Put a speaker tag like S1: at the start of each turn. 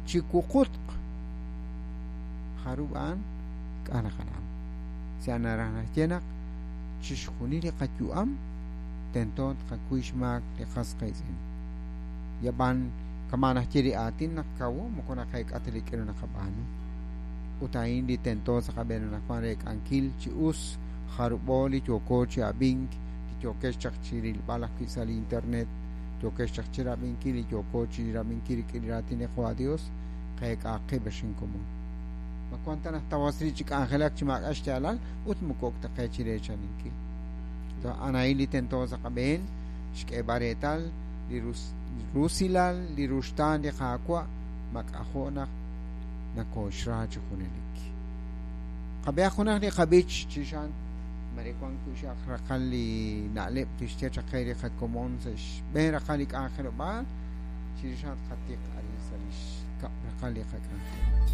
S1: Chi wuqutq jarub' a'an k'a' naqanam. Sa' naraj naxye naq chixjunil li qayu'am tento tqakuy xmaak li qas qiitz'in. Yab'an kama' naxye li aatin naq kawo moko naqeek'a ta li k'aru naqab'aanu. Ut a'in li tento sa' qab'een anaqwan reek'ankil chi us jarub'o li yooko chi ab'ink, li yookex chaq chi rilb'al ajwi' sa' li internet, yookex chaq chi rab'inkil li yooko chi rab'inkil rik'in li raatin li Qawa' Dios, qeek'aq qib' ex inkomon. Ma wan ta naq tawasri chi k'anjelak chi maak'a' xyaalal ut moko ok ta qe chi reechaninkil. A'an a'in li tento sa' qab'een xk'eeb'al reetal li rusilal li ruxtaan li Qaawa' mak'ajo' naq nakooxra chi junelik. Qab'ehaq junaq li qab'ich chixan mare wan wi' xaq raqal li na'leb' tixye chaq qe li qakomon sa' xb'een raqal li k'anjelob'aal chirix a'an tqatiq arin sa' li xkab' raqal li qak'anjel.